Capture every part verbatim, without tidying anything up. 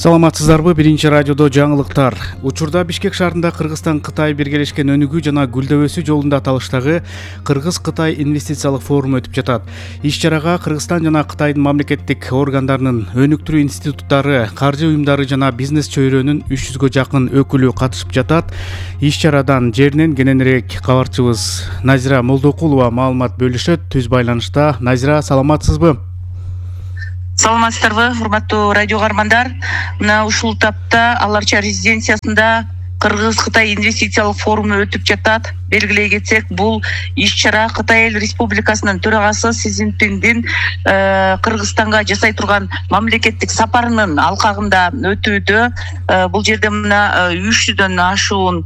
Саламатсыздарбы? Биринчи радиодо жаңылыктар. Учурда Бишкек шаарында Кыргызстан-Кытай биргелешкен өнүгүү жана гүлдөбөсү жолунда аталыштагы Кыргыз-Кытай инвестициялык форуму өтүп жатат. Иш-чарага Кыргызстан жана Кытайдын мамлекеттик органдарынын, өнүктүрүү институттары, каржы уюмдары жана бизнес чөйрөнүн үч жүзгө жакын өкүлү катышып жатат. Иш-чарадан жеринен кененирээк кабарчыбыз Назира Молдокулова маалымат бөлүшөт. Түз байланышта. Назира, саламатсызбы? Саламатсыздарбы, урматтуу радио каармандар. Мына ушул тапта Аларча резиденциясында Кыргыз-Кытай инвестициялык форуму өтүп жатат. Белгилей кетсек, бул иш-чара Кытай эл республикасынын төрагасы Си Цзиньпиндин Кыргызстанга жасай турган мамлекеттик сапарынын алкагында өтүүдө. Бул жерде мына үч жүздөн ашуун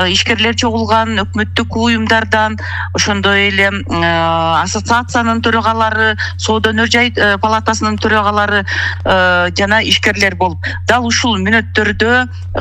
ишкерлер чогулган, өкмөттүк уюмдардан, ошондой эле ассоциациянын төрагалары, соода өнөр жай палатасынын төрагалары жана ишкерлер болуп, дал ушул мүнөттөрдө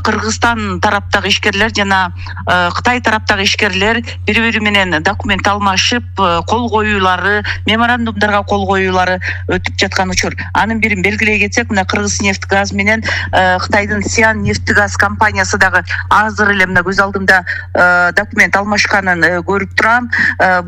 Кыргызстан тараптагы ишкерлер жана Кытай тараптагы ишкерлер бири-бири менен документ алмашып, кол коюулары, меморандумдарга кол коюулары өтүп жаткан учур. Анын бирин белгилей кетсек, мына Кыргызнефтгаз менен Кытайдын Сиан нефтегаз компаниясы дагы азыр эле мына көз алдымда документ алмашканын көрүп турам.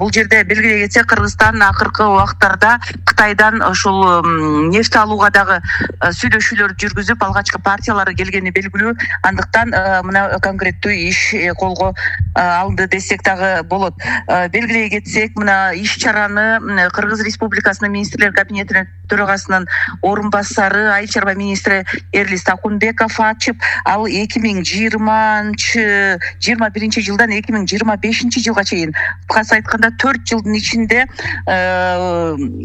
Бул жерде белгилей кетсек, Кыргызстан акыркы убактарда Кытайдан ошол нефть алууга дагы сүйлөшүүлөр жүргүзүп, алгачкы партиялары келгени белгилүү. Андыктан мына конкреттүү иш колго алынды десек дагы болот. Белгилей кетсек, мына иш-чараны Кыргыз Республикасынын министрлер кабинетинин төрагасынын орун басары, айыл чарба министри Эрлис Акунбеков ачып, ал эки миң жыйырманчы жыйырма биринчи жылдан эки миң жыйырма бешинчи жылга чейин, кыскасы айтканда төрт жылдын ичинде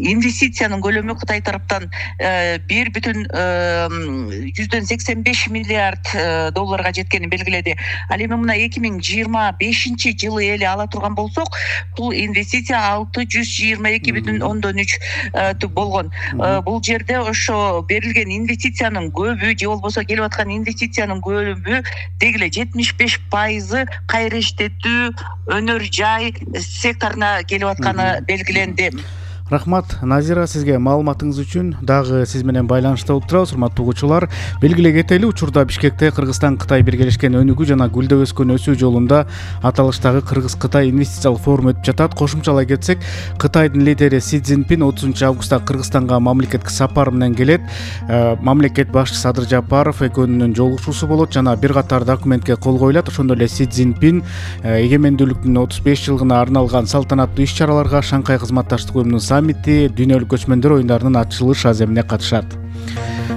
инвестициянын көлөмү Кытай тараптан бир бүтүн жүздөн сексен беш миллиард долларга жеткенин белгиледи. Ал эми мына эки миң жыйырма бешинчи жылы эле ала турган болсок, бул инвестиция алты жүз жыйырма эки бүтүн ондон үч болгон. Бул жерде ошо берилген инвестициянын көбү же болбосо келип аткан инвестициянын көбү дегиле жетимиш беш пайызы кайра иштетүү, өнөр жай секторуна келип атканы белгиленди. Рахмат, Назира, сизге маалыматыңыз үчүн. Дагы сиз менен байланышта болуп турабыз, урматтуу угуучулар. Белгилей кетели, учурда Бишкекте Кыргызстан-Кытай биргелешкен өнүгүү жана гүлдөп өскөн өсүү жолунда аталыштагы Кыргыз-Кытай инвестициялык форуму өтүп жатат. Кошумчалай кетсек, Кытайдын лидери Си Цзиньпин отузунчу августта Кыргызстанга мамлекеттик сапар менен келет. Мамлекет башчысы Садыр Жапаров экөөнүнүн жолугушуусу болот жана бир катар документке кол коюлат. Ошондой эле Си Цзиньпин эгемендүүлүктүн отуз беш жылдыгына арналган салтанаттуу иш-чараларга, Шанхай кызматташтык уюмунун саммити, дүйнөлүк көчмөндөр оюндарынын ачылыш аземине катышат.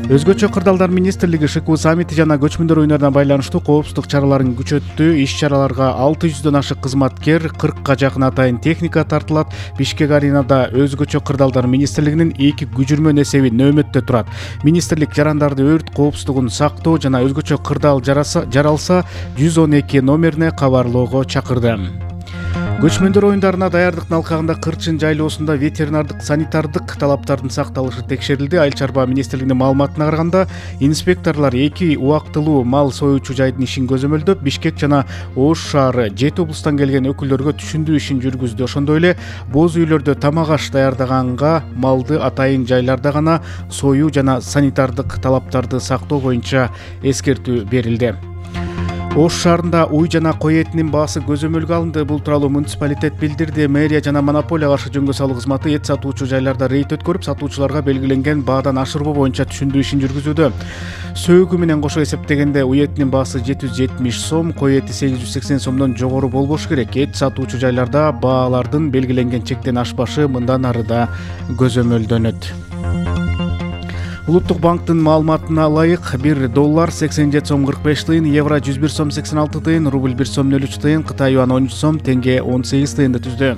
Өзгөчө кырдаалдар министрлиги ШКУ саммити жана көчмөндөр оюндарына байланыштуу коопсуздук чараларын күчөттү. Иш-чараларга алты жүздөн ашык кызматкер, кыркка жакын атайын техника тартылат. Бишкек аренада өзгөчө кырдаалдар министрлигинин эки күжүрмөн эсеби нөөмөттө турат. Министрлик жарандарды өрт коопсуздугун сактоо жана өзгөчө кырдаал жаралса жүз он эки номерине кабарлоого чакырды. Көчмөндөр оюндарына даярдыктын алкагында Кырчын жайлоосунда ветеринардык санитардык талаптардын сакталышы текшерилди. Айыл чарба министрлигинин маалыматына караганда, инспекторлор эки убактылуу мал союучу жайдын ишин көзөмөлдөп, Бишкек жана Ош шаары, жети облустан келген өкүлдөргө түшүндүү ишин жүргүздү. Ошондой эле боз үйлөрдө тамак аш даярдаганга малды атайын жайларда гана союу жана санитардык талаптарды сактоо боюнча эскертүү берилди. Ош шаарында уй жана кой этинин баасы көзөмөлгө алынды. Бул тууралуу муниципалитет билдирди. Мэрия жана монополия каршы жөнгө салуу кызматы эт сатуучу жайларда рейд өткөрүп, сатуучуларга белгиленген баадан ашырбоо боюнча түшүндүү ишин жүргүзүүдө. Сөөгү менен кошо эсептегенде уй этинин баасы жети жүз жетимиш сом, кой эти сегиз жүз сексен сомдон жогору болбошу керек. Эт сатуучу жайларда баалардын белгиленген чектен ашпашы мындан ары да көзөмөлдөнөт. Улуттук банктын маалыматына ылайык, бир доллар сексен жети сом кырк беш тыйын, евро жүз бир сом сексен алты тыйын, рубль бир сом нөл үч тыйын, Кытай юаны он үч сом, тенге он сегиз тыйынды түздү.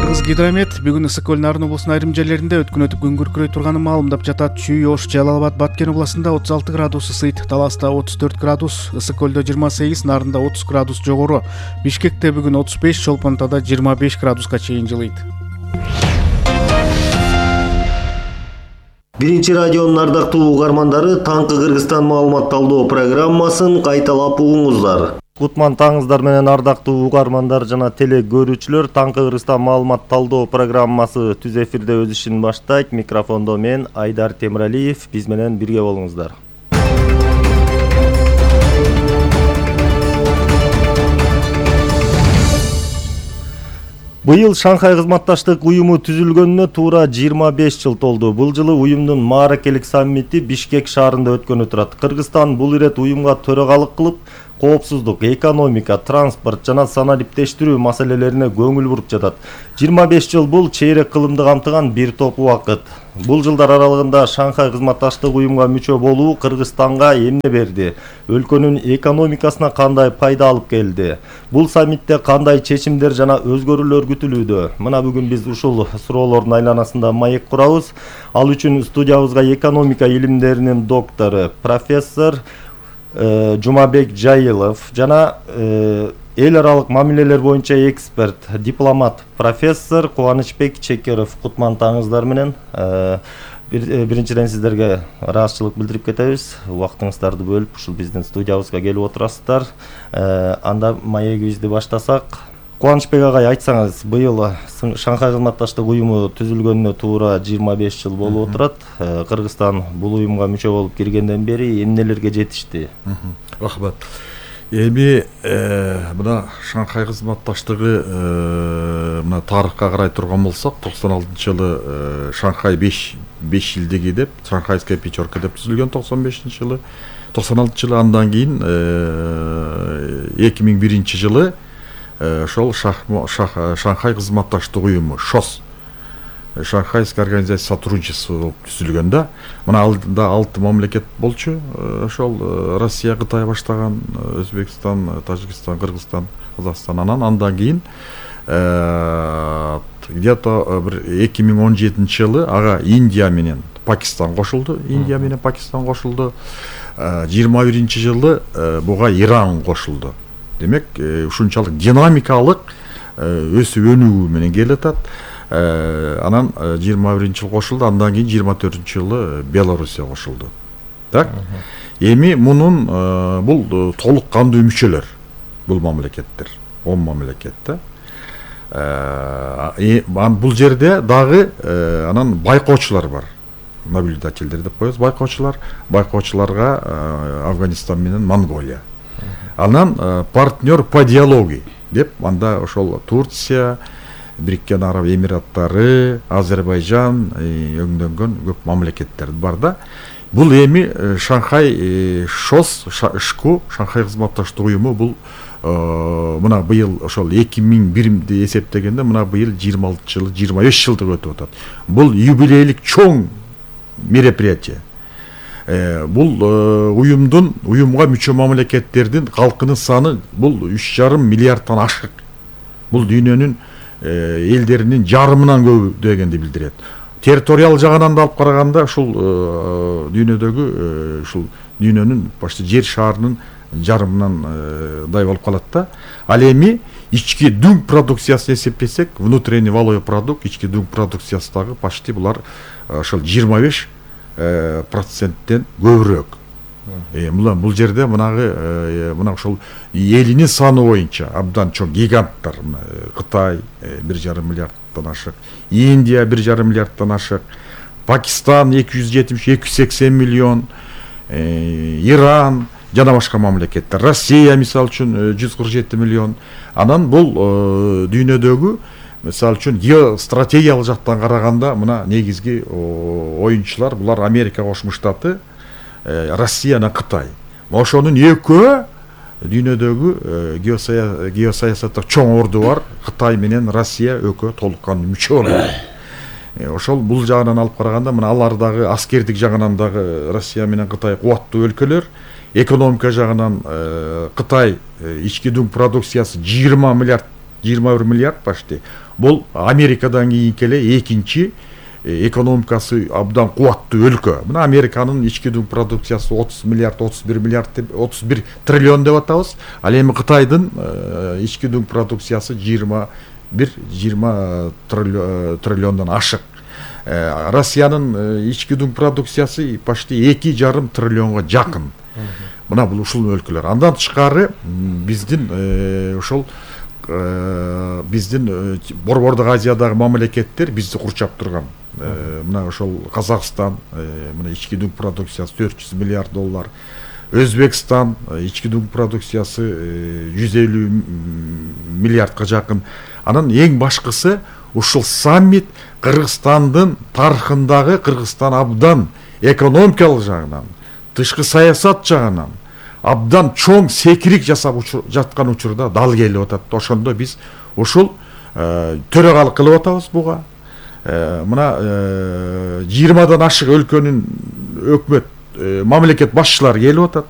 Кыргызгидромет бүгүн Ысык көл Нарын облусунун айрым жерлеринде өткөн өтүп күн күркүрөй турганын маалымдап жатат. Чүй, Ош, Жалал Абад, Баткен областында отуз алты градус ысыйт, Таласта отуз төрт градус, Ысык көлдө жыйырма сегиз, Нарында отуз градус жогору. Бишкекте бүгүн отуз беш, Чолпонтада жыйырма беш градуска чейин жылыйт. Биринчи радионун ардактуу угармандары, таңкы Кыргызстан маалымат талдоо программасын кайталап угуңуздар. Кутман таңыңыздар менен ардактуу угармандар жана теле көрүүчүлөр. Таңкы Кыргызстан маалымат талдоо программасы түз эфирде өз ишин баштайт. Микрофондо мен Айдар Темиралиев. Биз менен бирге болуңуздар. Быйыл Шанхай кызматташтык уюму түзүлгөнүнө туура жыйырма беш жыл толду. Бул жылы уюмдун мааракелик саммити Бишкек шаарында өткөнү турат. Кыргызстан бул ирет уюмга төрагалык кылып, коопсуздук, экономика, транспорт жана санариптештирүү маселелерине көңүл буруп жатат. жыйырма беш жыл бул чейрек кылымды камтыган бир топ убакыт. Бул жылдар аралыгында Шанхай кызматташтык уюмга мүчө болуу Кыргызстанга эмне берди? Өлкөнүн экономикасына кандай пайда алып келди? Бул саммитте кандай чечимдер жана өзгөрүүлөр күтүлүүдө? Мына бүгүн биз ушул суроолордун айланасында маек курабыз. Ал үчүн студиябызга экономика илимдеринин доктору, профессор Жумабек Жайылов жана эл аралык мамилелер боюнча эксперт, дипломат, профессор Кубанычбек Чекеров. Кутман таңыңыздар менен. Биринчиден сиздерге ыраазычылык билдирип кетебиз. Убактыңыздарды бөлүп ушул биздин студиябызга келип отурасыздар. Анда маегибизди баштасак. Кубанычбек агай, айтсаңыз, быйыл Шанхай кызматташтык уюму түзүлгөнүнө туура жыйырма беш жыл болуп отурат. Кыргызстан бул уюмга мүчө болуп киргенден бери эмнелерге жетишти? Рахмат. Эми мына Шанхай кызматташтыгы мына тарыхка карай турган болсок, токсон алтынчы жылы Шанхай беш жылдыгы деп, Шанхайская пятерка деп түзүлгөн токсон бешинчи жылы. токсон алтынчы жылы андан кийин эки миң биринчи жылы ошол Шанхай кызматташтык уюму ШОС, Шанхайская организация сотрудничества болуп түзүлгөн да. Мына алдында алты мамлекет болчу. Ошол Россия, Кытай баштаган, Өзбекстан, Тажикстан, Кыргызстан, Казакстан, анан андан кийин где-то эки миң он жетинчи жылы ага Индия менен Пакистан кошулду. Индия менен Пакистан кошулду. жыйырма биринчи жылы буга Иран кошулду. Демек, ушунчалык динамикалык өсүп өнүгүү менен келатат. Анан жыйырма биринчи жыл кошулду, андан кийин жыйырма төртүнчү жылы Белоруссия кошулду. Так? Эми мунун бул толук кандуу мүчөлөр, бул мамлекеттер, он мамлекет да. Бул жерде дагы анан байкоочулар бар. Наблюдательдер деп коебуз, байкоочулар. Байкоочуларга Афганистан менен Монголия. Анан партнер по диалогии деп, анда ошол Турция, Бириккен Араб Эмираттары, Азербайжан өңдөнгөн көп мамлекеттер бар да. Бул эми Шанхай ШОС, ШКУ, Шанхай кызматташтык уюму бул мына быйыл ошол эки миң бирди эсептегенде мына быйыл жыйырма алтынчы жылы жыйырма беш жылдык өтүп атат. Бул юбилейлик чоң мероприятие. Бул уюмдун уюмга мүчө мамлекеттердин калкынын саны бул үч жарым миллиардтан ашык. Бул дүйнөнүн элдеринин жарымынан көбү дегенди билдирет. Территориал жагынан да алып караганда ушул дүйнөдөгү ушул дүйнөнүн почти жер шарынын жарымынан дай болуп калат да. Ал эми ички дүң продукциясын эсептесек, внутренний валовой продукт, ички дүң продукциясы дагы почти булар ошол жыйырма беш проценттен көбүрөөк. Мына бул жерде мынагы мына ошол элинин саны боюнча абдан чоң гиганттар, Кытай бир жарым миллиардтан ашык, Индия бир жарым миллиардтан ашык, Пакистан эки жүз жетимиш эки жүз сексен миллион, Иран жана башка мамлекеттер, Россия мисалы үчүн жүз кырк жети миллион. Анан бул дүйнөдөгү мисалы үчүн геостратегиялык жактан караганда мына негизги оюнчулар булар Америка Кошмо Штаты, Россия жана Кытай. Ошонун экөө дүйнөдөгү геосаясатта чоң орду бар. Кытай менен Россия экөө толук кандуу мүчө болот. Ошол бул жагынан алып караганда мына алар дагы аскердик жагынан дагы Россия менен Кытай кубаттуу өлкөлөр. Экономика жагынан Кытай ички дүң продукциясы жыйырма миллиард, жыйырма бир миллиард почти. Бул Америкадан кийинки эле экинчи экономикасы абдан кубаттуу өлкө. Мына Американын ички дүң продукциясы отуз миллиард, отуз бир миллиард, отуз бир триллион деп атабыз. Ал эми Кытайдын ички дүң продукциясы жыйырма бир жыйырма триллиондон ашык. Россиянын ички дүң продукциясы почти эки жарым триллионго жакын. мына бул ушул өлкөлөр. Андан тышкары биздин ошол биздин Борбордук Азиядагы мамлекеттер бизди курчап турган. Мына ошол Казакстан, мына ички дүң продукциясы төрт жүз миллиард доллар. Өзбекстан ички дүң продукциясы жүз элүү миллиардка жакын. Анан эң башкысы ушул саммит Кыргызстандын тарыхындагы Кыргызстан абдан экономикалык жагынан, тышкы саясат жагынан абдан чоң секирик жасап жаткан учурда дал келип атат. Ошондо биз ушул төрагалык кылып атабыз буга. Мына жыйырмадан ашык өлкөнүн өкмөт мамлекет башчылары келип атат.